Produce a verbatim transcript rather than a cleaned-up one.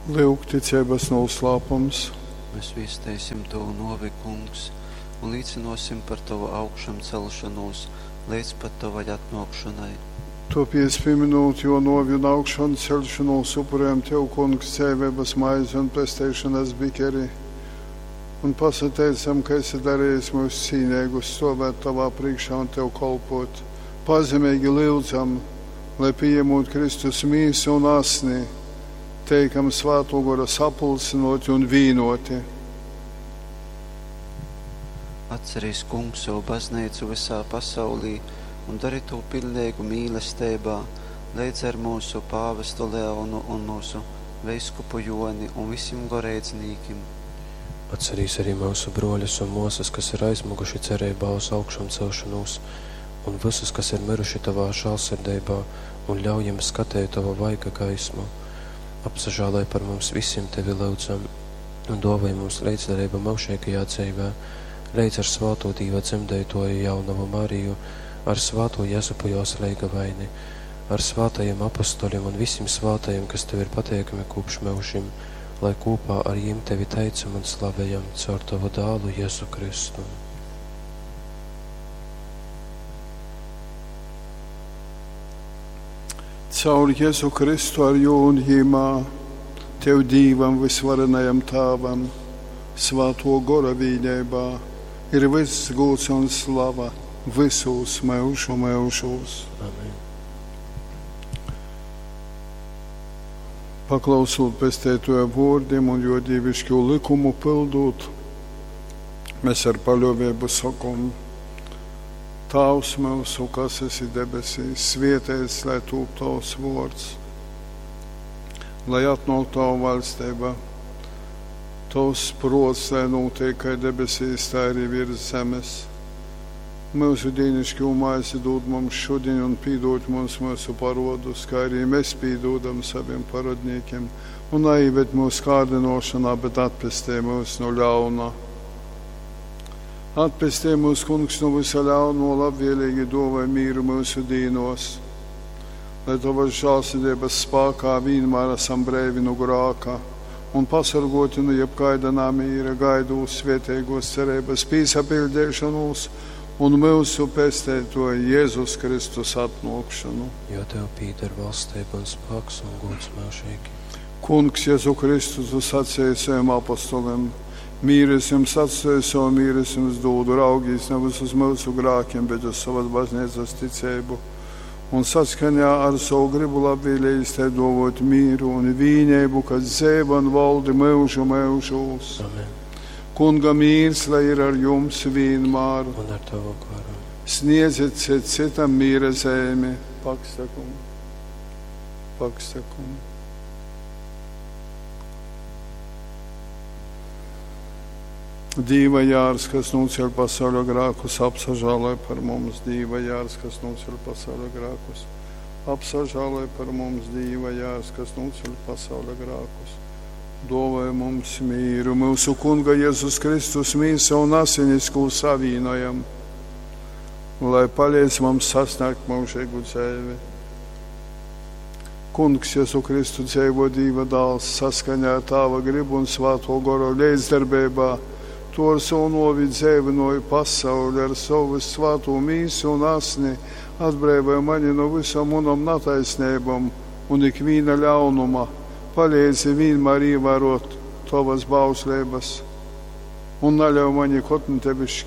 Lyuk, ticeibas nūslāpums. Mēs viesteisim tovu nōvi, Kungs, un līcynōsim par tovu augšamceļšonūs leidz pat tovai atnōkšonai. Tōpēc, pīmynūt jō nōvi un augšanceļšonūs, upurejam tev, Kungs, dzeiveibas maizi un pesteišonas bikeri un pasateicam, ka esi darejis myus cīneigus stōvēt tovā prīškā un tev kolpōt. Pazemeigi lyudzam, lai, pījemūt Kristus mīsu un asni, teikam Svātō Gora sapulcynōti un vīnōti. Atcerīs, Kungs, sovu bazneicu vysā pasaulī un dori tū piļneigu mīlesteibā, leidz ar myusu pāvestu Leonu un myusu veiskupu Jōni un vysim goreidznīkim. Atcerīs arī myusu brōļus un mōsas, kas ir aizmyguši cereibā uz augšamceļšonūs, un vysus, kas ir myruši tovā žāļsirdeibā, un ļauj jim skateit tova vaiga gaismu. Apsažāloj par mums vysim, tevi lyudzam, un dōvoj mums leidzdaleibu myužeigajā dzeivē, leidz ar svātū Dīva dzemdeitōju jaunovu Mariju, ar svātū Jezupu jōs leigavaini, ar svātajim apostolim un vysim svātajim, kas tev ir pateikami kopš myužim, lai kopā ar jim tevi teicam un slavejam caur tovu dālu Jezu Kristu. Caur Jezu Kristu ar jū un jimā, tev Dīvam vysvarenajam Tāvam, Svātō Gora vīneibā, ir vyss gūds un slava vysūs myužu myužūs. Amen. Paklausūt Pesteitōja vōrdim un jō dīviškū lykumu pyldūt, mēs ar paļōveibu sokom: Tāvs myusu, kas esi debesīs, svētīts lai tūp tavs vōrds, lai atnōk tava vaļsteiba, tovs prōts, lai nūtiek kai debesīs, tā arī virs zemes. Myusu dīnišķo maizi dod mums šodien un pīdod mums mūsu parodus, kā arī mēs pīdodam saviem parodniekiem. Un neieved mūsu kārdinošanā, bet atpestī mūs no ļauna. Atpestī mūs, Kungs, no visa ļauno, labvēlīgi dāvāj mīru mūsu dīnos, lai tavas žēlsirdības spēkā vienmēr esam breivi no grāka un pasargoti no jebkaida namīra, gaidot svētīgos cerības pīsapildīšanos un mūsu pesteitoja Jēzus Kristus atnākšanu. Jo tev pīder valstība un spēks un gods mūžīgi. Kungs Jēzu Kristu, tu sacīji saviem apostoliem, mīru es jums atstāju, savu mīru es jums dodu, raugīs nevis uz mūsu grākiem, bet uz savas baznīcas ticību. Un saskaņā ar savu gribu labvēlīgi te dovot mīru un vīnību, kas dzēva un valdi mūžu mūžos. Amen. Kunga mīrs, lai ir ar jums vienmēr. Un ar tavu garu. Sniedziet cits citam mīra zemi. Paksakum. Paksakum. Dīva jārs, kas nūceļ pasauļa grākus, apsažāloj par mums. Dīva jārs, kas nūceļ pasauļa grākus, apsažāloj par mums. Dīva jārs, kas nūceļ pasauļa grākus. Dāvāj mums mīru, mūsu Kunga Jēzus Kristus mīsa un asinis, ko savīnojam, lai palīdz mums sasniegt mūžīgu dzīvi. Kungs Jēzu Kristu dzīvo Dīva dāls saskaņā ar Tāva gribu un Svāto Goru līdzdarbībā, to ar savu novi dzīvinoju pasauli, ar savu svāto mīsu un asni, atbrīvoja mani no visam manam netaisnībām un ikviena ļaunuma. Palīdzi vienmēr ievērot tavas bauslības un neļauj mani kotni tevi šķirt.